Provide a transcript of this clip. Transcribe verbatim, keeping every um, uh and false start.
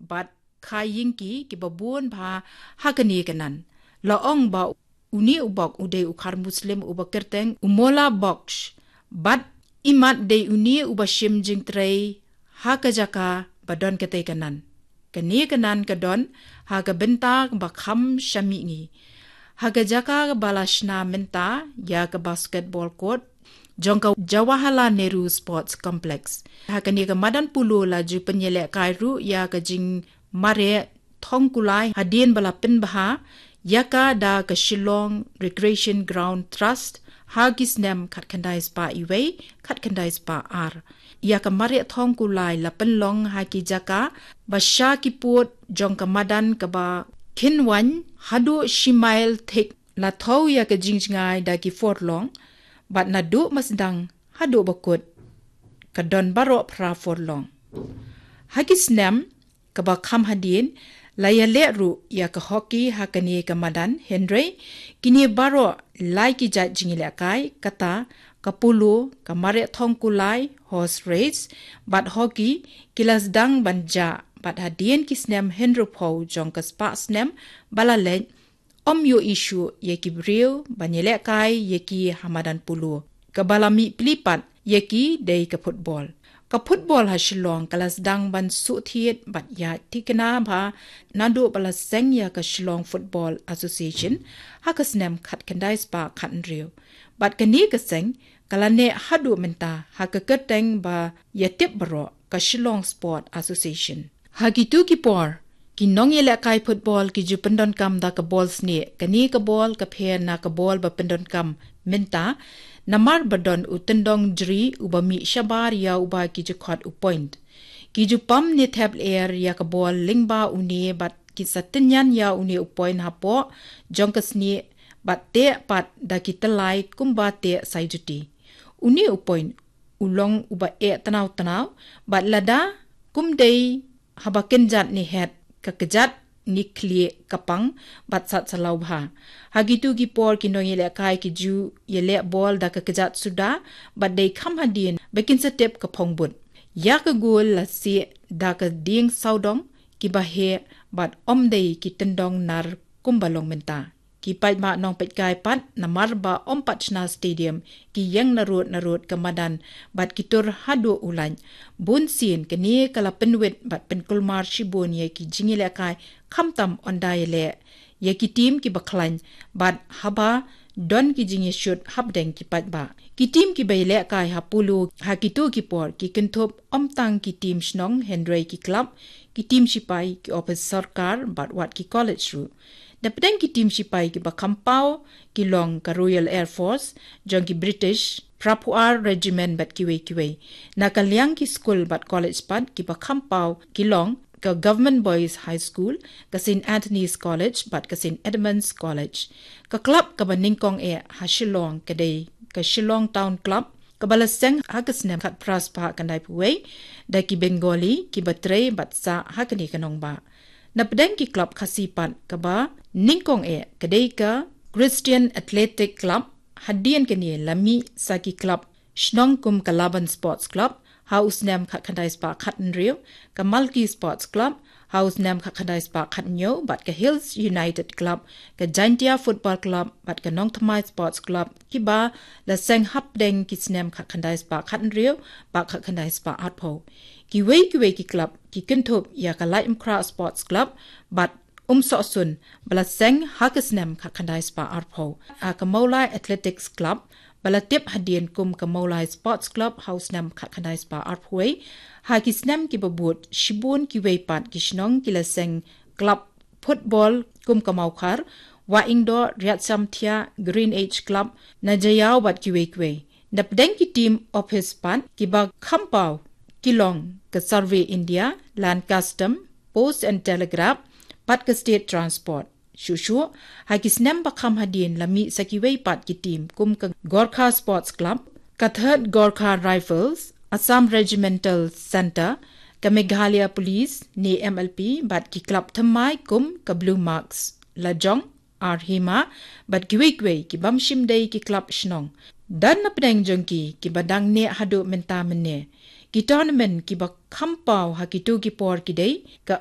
bad Khai Yingki kiba bun bha ha kane ka nan. La ong ba une u bok u dei u khar Muslim uba kyrteng u Mola Boksh bad imat dei une uba shim jingtrei ha ka jaka ba don katei ka nan. Kane ka nan ka don ha ka bynta ba kham sha mihngi. Ha ka jaka ba la shna mynta ïa ka basketball court jong ka Jawaharlal Nehru Sports Complex. Ha kane ka madan polo la ju pynïalehkai ruh ïa ka jingmareh thongkulai hadien ba la pynbha ïa ka da ka Shillong Recreation Ground Trust ha ki snem khatkhyndai spah iwei, khatkhyndai spah ar. Ïa ka mareh thongkulai la pynlong ha ki jaka ba sha ki pud jong ka madan kaba kynwaiñ haduh shi mail thik. La thew ïa ka jingjngai da ki furlong bad naduh masdang haduh bakut ka don baroh phra furlong. Ha ki snem kaba kham hadien la ïaleh ruh ïa ka hockey ha kane ka madan, hynrei kine baroh lai ki jait jingïalehkai kata ka polo, ka mareh thongkulai, horse race bad hockey ki la sdang ban jah bad hadien ki snem hynriewphew jong ka spah snem ba la leit, ym ïohi shuh ïa ki briew ban ïalehkai ïa ki ha madan polo. Kaba la mih pli pat ïa ki dei ka football. Ka football ha Shillong ka la sdang ban suh thied bad ïaid thikna bha naduh ba la seng ïa ka Shillong Football Association ha ka snem khatkhyndai spah khathynriew. Bad kane ka seng ka la neh haduh mynta ha ka kyrteng ba ïatip baroh, ka Shillong Sport Association. Ha kito ki por ki nongïalehkai football ki ju pyndonkam da ka bol snieh. Kane ka bol ka pher na ka bol ba pyndonkam mynta, namar ba don u tyndong jri uba mih shabar ïa uba ki ju khot u point. Ki ju pam ne thep lyer ïa ka bol lyngba une bad ki sa tynñian ïa une u point hapoh jong ka snieh bad teh pat da ki tyllai kumba teh saijuti. Une u point u long uba eh tnaw tnaw bad lada kum dei haba kynjat ne het, ka kjat ne khlieh ka pang bad sat salaw bha. Ha kito ki por ki nongïalehkai ki ju ïaleh bol da ka kjat suda bad dei kham hadien ba kin sa tip ka phong but. Ïa ka gol la sieh da ka dieng sawdong kiba heh bad ym dei ki tyndong nar kumba long mynta. Ki paidbah nongpeitkai pat namar ba ym pat shna stadium, ki ïeng narud narud ka madan bad ki tur haduh u laiñ. Bun sien kane ka la pynwit bad pynkulmar shibun ïa ki jingïalehkai, khamtam ynda ïaleh ïa ki team kiba khlaiñ bad haba don ki jingïashut hapdeng ki paidbah. Ki team kiba ïalehkai ha polo ha kito ki por ki kynthup ym tang ki team shnong hynrei ki club, ki team shipai, ki ophis sorkar bad wat ki college ruh. Napdeng ki team shipai kiba kham paw ki long ka Royal Air Force jong ki British, phraphew ar Regiment bad kiwei kiwei. Na ka liang ki skul bad college pat kiba kham paw ki long ka Government Boys High School, ka St Anthony's College bad ka St Edmund's College. Ka club kaba nyngkong eh ha Shillong ka dei ka Shillong Town Club, kaba la seng ha ka snem khatphra spah khyndaiphew wei da ki Bengali kiba trei bad sah ha kane ka nongbah. Napdeng ki club Khasi pat kaba nyngkong eh ka dei ka Christian Athletic Club, hadien kane la mih sa ki club shnong kum ka Laban Sports Club ha u snem khatkhyndai spah khathynriew, ka Malki Sports Club ha u snem khatkhyndai spah khathynñiew bad ka Hills United Club, ka Jaintia Football Club bad ka Nongthymmai Sports Club, kiba la seng hapdeng ki snem khatkhyndai spah khathynriew bad khatkhyndai spah arphew. Kiwei kiwei ki club ki kynthup ïa ka Laitumkhrah Sports Club bad Umsohsun ba la seng ha ka snem khatkhyndai spah arphew. Ha ka Mawlai Athletics Club ba la tip hadien kum ka Mawlai Sports Club ha u snem khatkhyndai spah arphew wei. Ha ki snem kiba bud shibun kiwei pat ki shnong ki la seng club football kum ka Mawkhar, Wahingdoh, Riatsamthiah, Green Age Club, Najaïaw bad kiwei kiwei. Napdeng ki team ophis pat kiba kham paw ki long ka Survey India, Land Custom, Post and Telegraph bad ka State Transport. Shuh shuh ha ki snem ba kham hadien la mih sa kiwei pat ki team kum ka Gorkha Sports Club, ka Third Gorkha Rifles, Assam Regimental Centre, ka Meghalaya Police ne M L P bad ki club thymmai kum ka Blue Marks, Lajong, Arhima bad kiwei kiwei ki bym shym dei ki club shnong. Don napdeng jong ki kiba dang neh haduh mynta mynne. Kita na mynta kiba kham paw ha kito ki por ki dei ka